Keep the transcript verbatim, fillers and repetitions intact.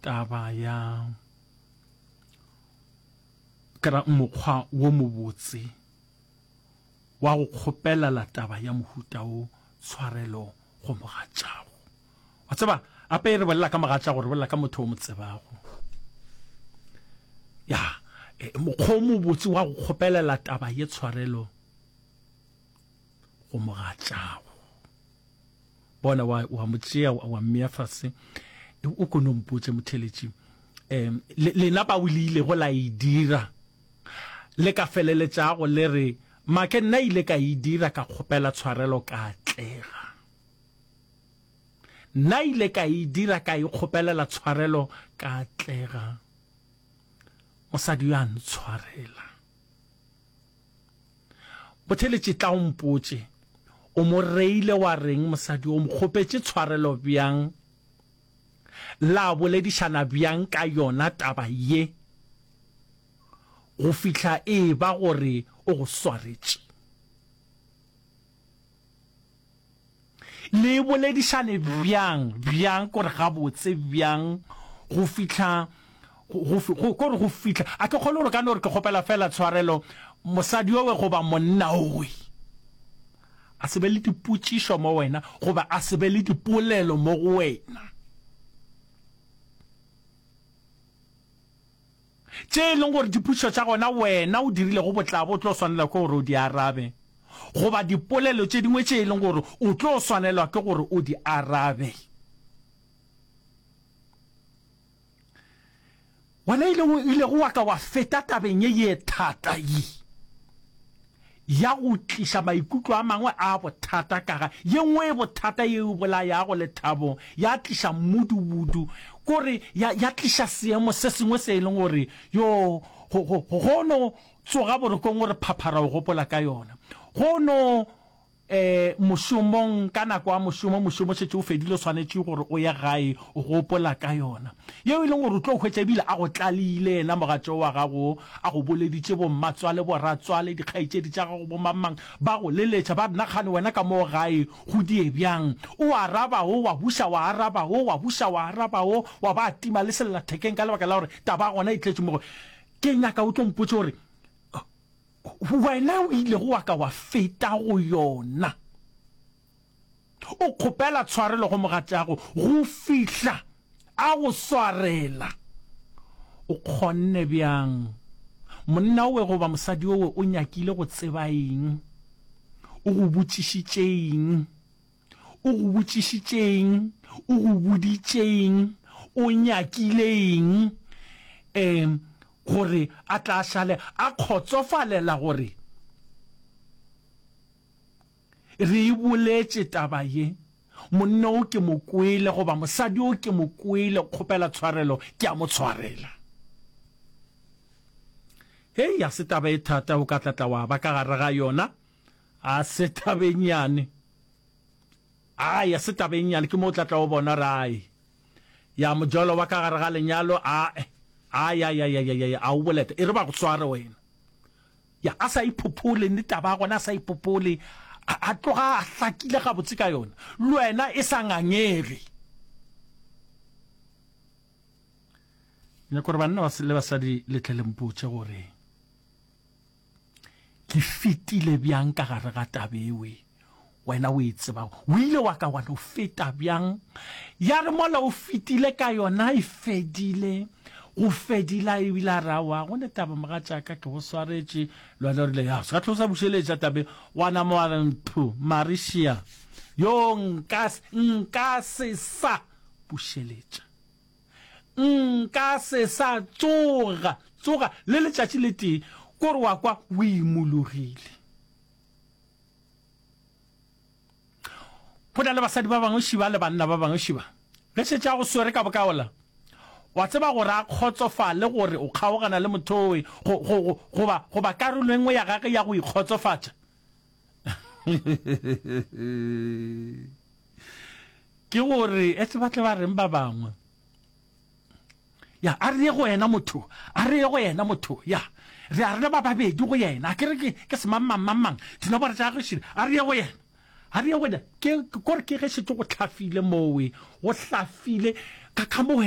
Taba ya ke ra mokgwa wo mobotse wa go kgopelala taba ya mohuta wo tshwarelo go mogatšago. Wa tseba, ape re bolela ka mogatšago, re bolela ka motho o mo tsebago. Ya, e, mokgwa o mobotse wa go kgopelela taba ye tshwarelo go mogatšago. Bona, wa, wa mo tšea, wa, wa mmea fase. O ko no mpotše, motheeletši, um, le, lena bao le ilego la e dira, le ka feleletšago le re, Make, nna ile ka e dira, ka kgopela tshwarelo, ka atlega. Nna ile ka e dira, ka e kgopelela tshwarelo, ka atlega. Mosadi yo a ntshwarela. Botheletše, tla o mpotše, o mo reile wa reng mosadi yo? O mo kgopetše tshwarelo bjang? La boledišana bjang ka yona taba ye go fihla e eba gore o go swaretše? Le boledišane bjang, bjang, kore gabotse bjang, go fihla, go, go, kore go fihla, a ke kgolwe gore ka no re ke kgopela feela tshwarelo, mosadi owe goba monna owe, a se be le dipotšišo mo wena, goba a se be le dipolelo mo go wena. Tše e leng gore dipotšišo tša gona wena o dirilego botlabo o tlo swanelwa ke gore o di arabe, goba dipolelo tše dingwe tše e leng gore o tlo swanelwa ke gore o di arabe. Wena o ilego wa ka wa feta tabeng ye ye thata ye ya go tliša maikutlo a mangwe a bothata ka ga ye nngwe e bothata ye e bolayago lethabo, ya tliša mmudubudu, kore ya, ya tliša seemo se sengwe se e leng gore yo go, go, go no tsoga borokong o re phaphara o gopola ka yona. Go no E, mošomong, ka nako ya mošomo, mošomo o šetše o fedile, o swanetše gore o ye gae, o gopola ka yona. Yeo e leng gore o tlo hwetša ebile a go tlalile yena mogatšo wa gago, a go boleditše bommatswale, boratswale, dikgaetšedi tša gago, bomangmang, ba go leletša, ba re, Na kgane wena ka moo gae go die bjang? O araba o, wa buša wa araba o, wa buša wa araba o, wa ba tima le sellathekeng ka lebaka la gore taba ya gona e tletše mo go. Ke nyaka o tlo mpotše gore Wena o ilego wa ka wa feta go yona, o kgopela tshwarelo go mogatšago go fihla a go swarela. O kgonne bjang? Monna owe goba mosadi owe o nyakile go tseba eng? O go botšišitše eng? O go botšišitše eng? O go boditše eng? O nyakile eng? Um, gore a tla šale a kgotsofalela gore re e boletše taba ye, monna o ke mo kwele goba mosadi o ke mo kwele, kgopela tshwarelo, ke a mo tshwarela. Hei, a se taba e thata o ka tla tla wa ba ka gare ga yona, a se taba e nnyane. Ai, a se taba e nnyane, ke mo o tla tla o bona gore ai, Ya mojolo wa ka gare ga lenyalo, ae, ai, ai, ai, ai, ai, a o boleta, e re ba go sware wena. Ya, a sa iphophole, nnete taba ya gona a sa iphophole, a, a tloga a hlakile gabotse ka yona, le wena e sa ngangege. Nyaka gore banna le basadi le tle le mpotše gore Ke fetile bjang ka gare ga taba ewe wena o e tsebago? O ile wa ka wa no feta bjang? Ya re mola o fetile ka yona e fedile, go fedile a ebile a re aowa go ne taba mogatšaka ke go swaretše. Le wena o rile ya se ka tlo sa bušeletša tabe wa nama wa re mphu Marishia yo nka nka se sa bušeletša. Nka se sa tsoga, tsoga le letšatši le tee, kore wa kwa o imologile. Go na le basadi ba bangwe šiba le banna ba bangwe šiba, ge šetše a go swere ka bokaola, wa tseba gore a kgotsofale gore o kgaogana le motho owe, go, go, go, goba, goba karolo e nngwe ya gage ya go ikgotsofatša. Ke gore, etse ba tle ba reng ba bangwe? Ya, a re ye go yena motho, a re ye go yena motho, ya. Re a rena ba babedi go yena, a ke re ke, ke semang-mang, mang-mang, dinomoro tša gagwe šele, a re ye go yena, a re ye go yena. Ke, ke kore ke ge šetše go hlafile mowe, go hlafile, ka, ka mo wena.